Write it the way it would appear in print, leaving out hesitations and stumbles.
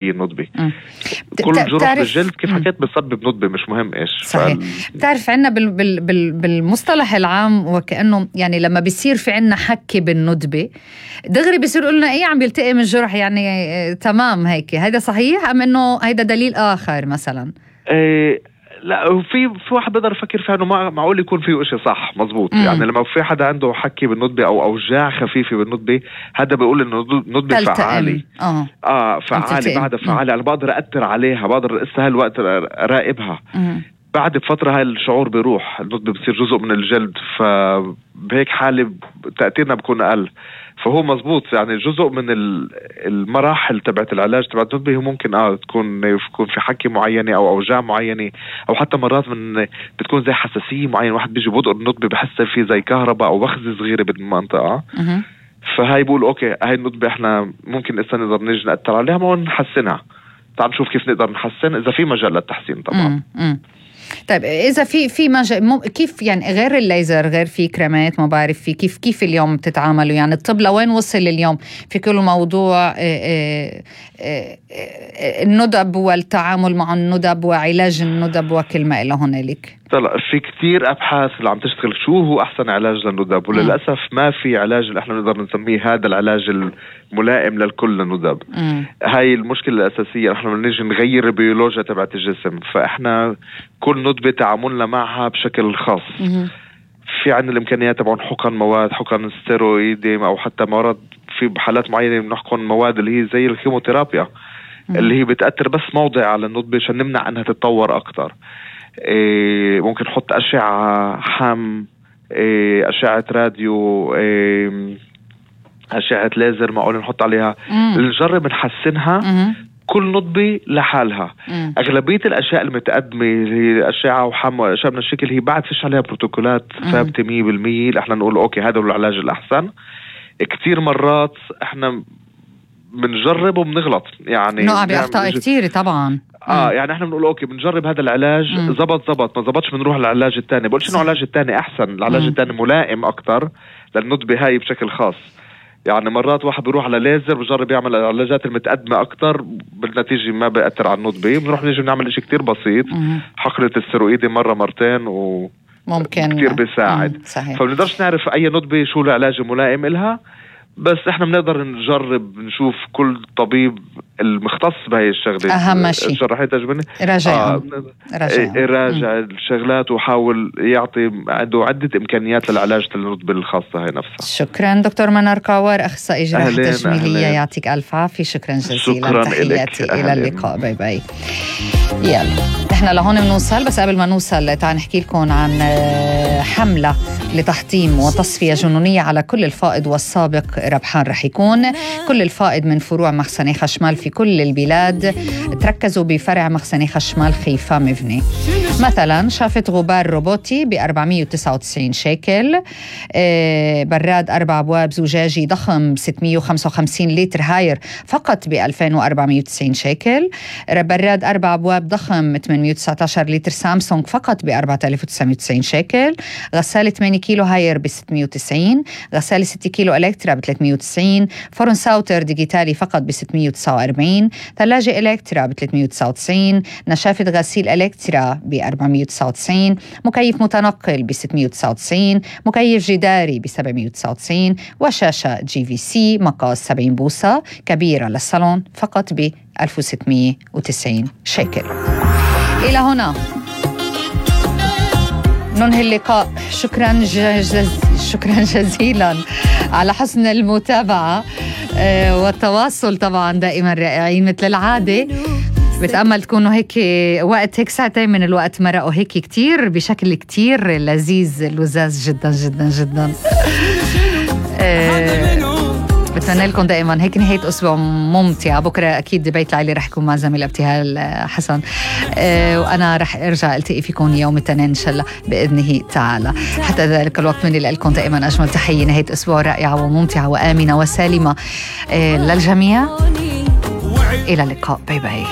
الندبة. كل جرح بالجلد كيف حكيت بسبب ندبة، مش مهم إيش. صحيح. بتعرف عنا بالمصطلح العام وكأنه يعني لما بيصير في عنا حكي بالندبة دغري بيصير قلنا إيه عم بيلتقي من الجرح، يعني تمام هيك. هيدا صحيح أم إنه هيدا دليل آخر مثلا؟ لا، في واحد بقدر يفكر فيها انه معقول يكون فيه اشي صح مزبوط. يعني لما في حدا عنده حكي بالندبة او اوجاع خفيفة بالندبة، هذا بيقول انه الندبة فعالة. فعالة، بعدها فعالة، انا بقدر أأثر عليها، بقدر لسه هالوقت راقبها. بعد بفترة هاي الشعور بيروح، الندبة بصير جزء من الجلد، فبهيك حالة تأثيرنا بيكون اقل. فهو مزبوط، يعني جزء من المراحل تبعت العلاج تبعت الندبة هو ممكن تكون في حكي معينة او اوجاع معينة، او حتى مرات بتكون زي حساسية معينة، واحد بيجي بوضع الندبة بحس فيه زي كهرباء او وخزة صغيرة بالمنطقة. فهاي بقول اوكي هاي الندبة احنا ممكن لسه نقدر نيجي نأثر عليها ما نحسنها. تعال نشوف كيف نقدر نحسن اذا في مجال للتحسين طبعا. طيب إذا في مجال كيف يعني غير الليزر، غير في كريمات، ما بعرف في كيف اليوم بتتعاملوا؟ يعني الطب لوين وصل اليوم في كل موضوع الندب والتعامل مع الندب وعلاج الندب وكل ما إلى هنالك؟ طلع في كتير أبحاث اللي عم تشتغل شو هو أحسن علاج للندب، وللأسف ما في علاج اللي احنا نقدر نسميه هذا العلاج الملائم للكل للندب. هاي المشكلة الأساسية، احنا بنيجي نغير البيولوجيا تبعت الجسم، فاحنا كل ندبة تعاملنا معها بشكل خاص. في عندنا الإمكانيات تبعون حقن مواد، حقن ستيرويدي، أو حتى مرض في بحالات معينة بنحقن مواد اللي هي زي الكيموثيرابيا اللي هي بتأثر بس موضع على الندبة عشان نمنع أنها تتطور أكتر. ممكن نحط أشعة حم، أشعة راديو، أشعة ليزر معقول نحط عليها، نجرب نحسنها كل ندبة لحالها. أغلبية الأشياء المتقدمة هي أشعة وحم وأشياء من الشكل هي بعد فيش عليها بروتوكولات ثابتة 100%. احنا نقول أوكي هذا هو العلاج الأحسن. كتير مرات احنا بنجرب وبنغلط، يعني نقع بأخطاء كتير طبعا. يعني احنا بنقول اوكي بنجرب هذا العلاج، زبط ما زبطش بنروح للعلاج الثاني. بقولش انه العلاج الثاني احسن، العلاج الثاني ملائم اكتر للندبة هاي بشكل خاص. يعني مرات واحد بيروح على ليزر بجرب يعمل العلاجات المتقدمة اكتر، بالنتيجة ما بيأثر على الندبة. بنروح نيجي نعمل اشي كتير بسيط، حقنة الستيرويدي مرة مرتين ممكن كتير بيساعد. فبنقدرش نعرف اي ندبة شو العلاج الملائم إلها، بس احنا بنقدر نجرب نشوف كل طبيب المختص بهاي الشغلة. أهم شيء الجراحية التجميلية راجع الشغلات وحاول يعطي عنده عدة إمكانيات للعلاج للندبة الخاصة هاي نفسها. شكرا دكتور منار كاور، أخصائي جراحة تجميلية. يعطيك ألف عافية. شكرا جزيلا. شكرا تحياتي إلى اللقاء. باي باي. يلا احنا لهون بنوصل، بس قبل ما نوصل تعال نحكي لكم عن حملة لتحطيم وتصفية جنونية على كل الفائض والسابق ربحان. رح يكون كل الفائض من فروع مخزني خشمال في كل البلاد تركزوا بفرع مخزني خشمال خيفا مبني. مثلا شافة غبار روبوتي ب 499 شيكل، براد 4 أبواب زجاجي ضخم 655 لتر هاير فقط ب 2490 شيكل، براد 4 أبواب ضخم 819 لتر سامسونج فقط ب 4990 شيكل، غسالة 8 كيلو هاير ب 690، غسالة 6 كيلو إلكترا ب 390، فرن ساوتر ديجيتالي فقط ب 649، ثلاجة إلكترا ب 399، نشافة غسيل إلكترا ب 499، مكيف متنقل ب 699، مكيف جداري ب 799، وشاشة GVC مقاس 70 بوصة كبيرة للصالون فقط ب 1690 شيكل. إلى هنا ننهي اللقاء. شكرا جزيلا على حسن المتابعة والتواصل طبعا دائما رائعين مثل العادة. بتأمل تكونوا هيك وقت هيك ساعتين من الوقت مرقوا هيك كتير بشكل كتير لذيذ لذاذ جدا جدا جدا. بتمنى لكم دائما هيك نهاية أسبوع ممتعة. بكرة أكيد بيت العيلة رح يكون مع زميل ابتهال حسن، وأنا رح أرجع ألتقي فيكم يوم الاثنين إن شاء الله بإذنه تعالى. حتى ذلك الوقت مني لكم دائما أجمل تحية، نهاية أسبوع رائعة وممتعة وآمنة وسالمة للجميع. إلى اللقاء. باي باي.